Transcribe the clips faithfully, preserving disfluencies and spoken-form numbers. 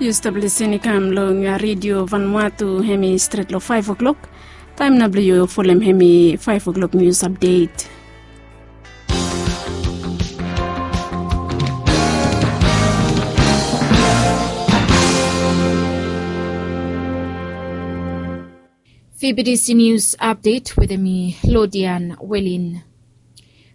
Yu stap lisin i kam long redio Vanuatu, hem i stret long five o'clock. Taem nao blong yu folem hem i five o'clock news update. Fibidisi nius apdet wetem mi, Lodian Welin.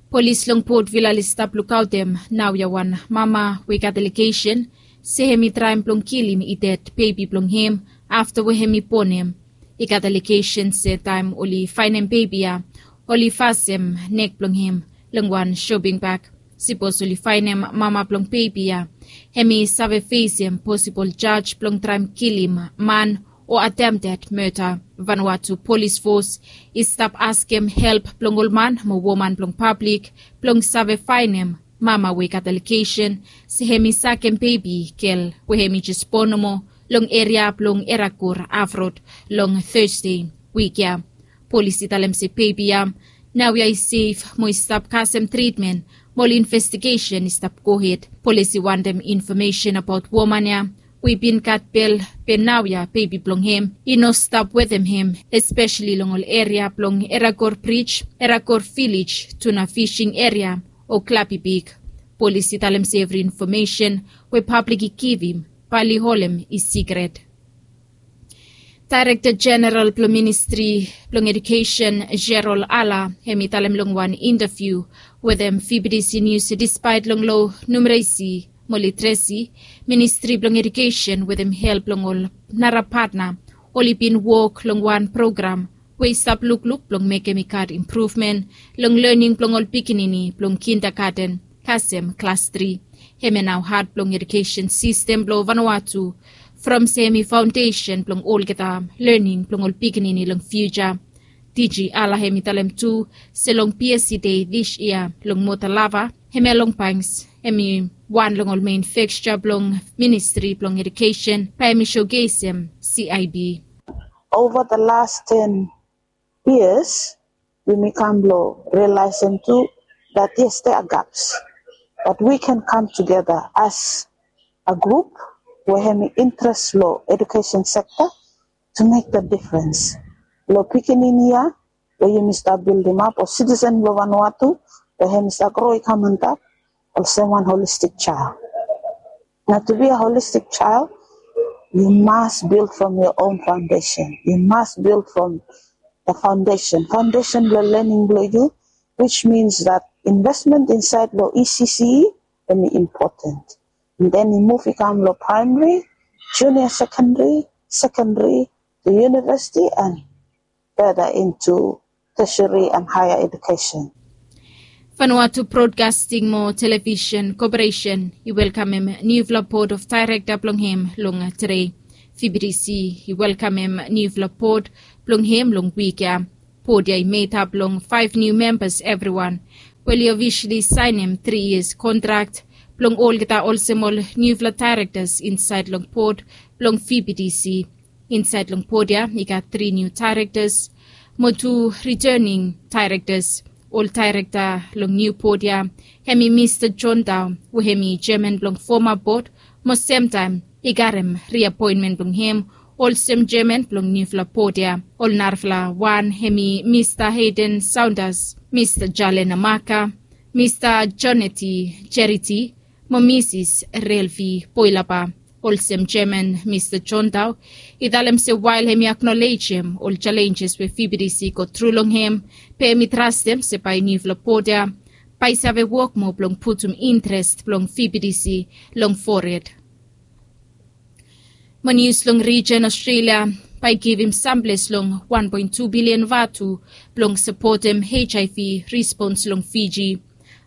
Polis long Port Vila oli stap lukaotem naoia wan mama we i gat alegesen se hem i traem blong kilim i ded bebi blong hem afta we hem i bonem. I gat alegesen se taem oli faenem bebi ya, oli fasem nek blong hem long wan shoping bag. Sipos oli faenem mama blong bebi ya, hem i save fesem posibol jaj blong traem kilim man o atemted murda. Vanuatu Polis Fos i stap askem help blong ol man mo woman blong pablik blong save faenem mama we i gat alegesen se hem i sakem bebi gel we hem i jes bon nomo long eria blong Eragur Afrod long Thursday wik ya. Polis i talem se bebi ya naoia i sef mo i stap kasem tritmen, mo ol investigesen i stap gohed. Polis i wantem infomesen abaot woman ya we i bin gat bel, be naoia bebi blong hem i no stap wetem hem, espeseli long ol eria blong Eragor Brij, Eragor Vilej, Tuna Fishing Eria o Klabibik. Polis i talem se evri infomesen we pablik i givim bae oli holem i sikret. Daerekta Jeneral blong Ministri blong Edukesen, Jerol Ala, hem i talem long wan intaviu wetem Fibidisi Nius se dispaet long lo numeresi mo literesi, Ministri blong Edukesen wetem help blong ol nara patna oli bin wok long wan program we i stap lukluk blong mekem i gat impruvmen long lening blong ol pikinini blong kindagaten kasem klas tri. Hemia nao hat blong edukesen sistem blong Vanuatu from se hem i faondesen blong olgeta lening blong ol pikinini long fiuja. Diji Ala hem i talem tu se long P S C Day dis yia long Motalava, hemia long Banks, hem i wan long ol men feksta blong Ministri blong Edukesen bae hem i sokesem C I B. Over the last ten years, yumi kam blong realaesem tu that yes, there are gaps, but we can come together as a group we hem i interes long education sector to make the difference long pikinini ya we yumi stap bildimap, o citizen blong Vanuatu we hem i stap gro i kam antap olsem wan holistic child. Now, to be a holistic child, you must build from your own foundation. You must build from the foundation. Foundation blong lening blong yu, which means that investment inside long E C C E hem i important. And then i muv i kam long primary, junior secondary, secondary to university and further into tertiary and higher education. Vanuatu Broadcasting mo Television Corporation i welkamem niufala bod of daerekta blong hem long tede. V B T C i welkamem niufala bod blong hem long wik ya. Bod ya i medap long faef niu membas evriwan we oli ofisali saenem tri yias kontrak blong olgeta olsem ol niufala daerektas insaed long bod blong V B T C. Insaed long bod ya i gat tri niu daerektas mo tu ritening daerektas. Ol daerekta long niu bod ya hem i Mista John Dau we hem i jeaman blong foma bod, mo semtaem i garem riapoenmen blong hem olsem jeaman blong niufala bod ya. Ol narafala wan hem i Mista Heiden Saundas, Mista Jalen Amaka, Mista Joneti Jeriti, mo Misis Relvi Boilaba. Olsem jeaman Mista John Dau i talem se wael hem i aknolejem ol jalenjes we V B T C i gotru long hem, be hem i trastem se bae niufala bod ya bae i save wok moa blong putum interes blong V B T C long fored. Mo nius long rijen Australia bae i givim samples long wan poen tu bilian vatu blong sapotem H I V rispons long Fiji.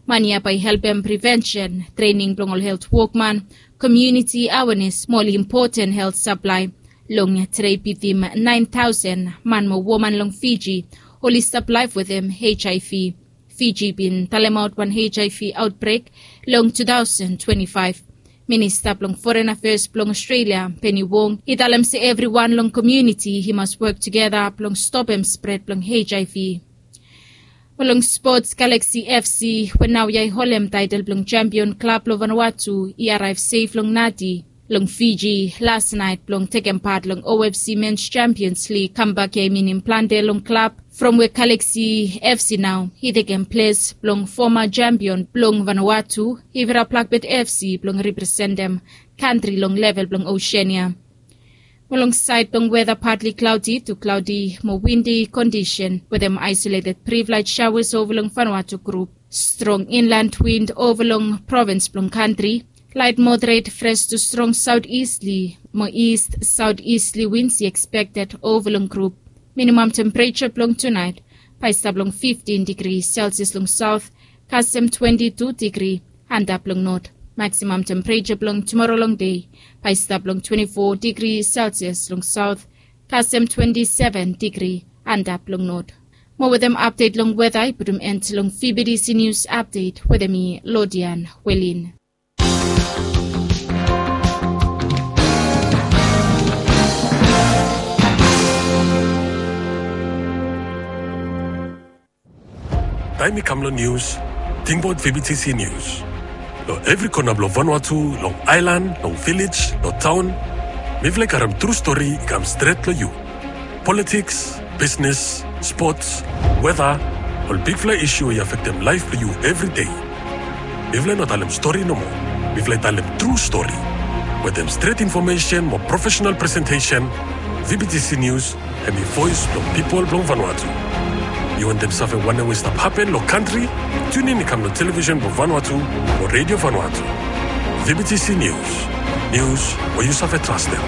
Mani ya bae i helpem prevensen, trening blong ol helt wokman, komuniti awenes mo ol impoten helt saplae. Long tede bitim naen taosen man mo woman long Fiji oli stap laef wetem H I V. Fiji bin talemaot wan H I V aotbrek long tu taosen twenti faef. Minista blong Foren Afeas blong Australia, Penny Wong, i talem se evriwan long komuniti i mas wok tugeta blong stopem spred blong H I V. Mo long spots, Galaxy F C we naoia i holem taetel blong sempion klab blong Vanuatu i araev sef long Nadi Long Fiji lasnaet blong tekem pat long O F C Men's Champions League kambak ya i minim plante long klab from we Galaxy F C nao i tekem ples blong foma champion blong Vanuatu, Ivira Blakbet F C, blong representem kantri long level blong Oceania. Mo long saed blong weta, partly cloudy to cloudy mo windy kondisen wetem isolated brief light showers ova long Vanuatu grup. Strong inland wind ova long provins blong kantri. Light moderate fresh to strong southeasterly mo east southeasterly winds i expected ova long grup. Minimum temperature blong tonight bae i stap long fifteen degrees Celsius long south, kasem twenty-two degree antap long north. Maximum temperature blong tomorrow long day bae i stap long twenty-four degrees Celsius long south, kasem twenty-seven degree antap long north. Mo wetem update long weta i putum end long V B T C News Update wetem mi, Lodian Welin. Taem i kam long nius, tingbaot V B T C Nius. Long evri kona blong Vanuatu, long aelan, long vilej, long taon, mifala i karem tru stori i kam stret long yu. Politiks, bisnes, spots, weta, ol bigfala isu we i afektem laef blong yu evri dei. Mifala i no talem stori nomo. Mifala i talem tru stori. Wetem stret infomesen mo profesenal presentesen, V B T C Nius hem i voes blong pipol blong Vanuatu. Yu wantem save wanem we i stap hapen long kantri? Tiun in i kam long televisen blong Vanuatu o Redio Vanuatu. V B T C Nius. Nius we yu save trastem.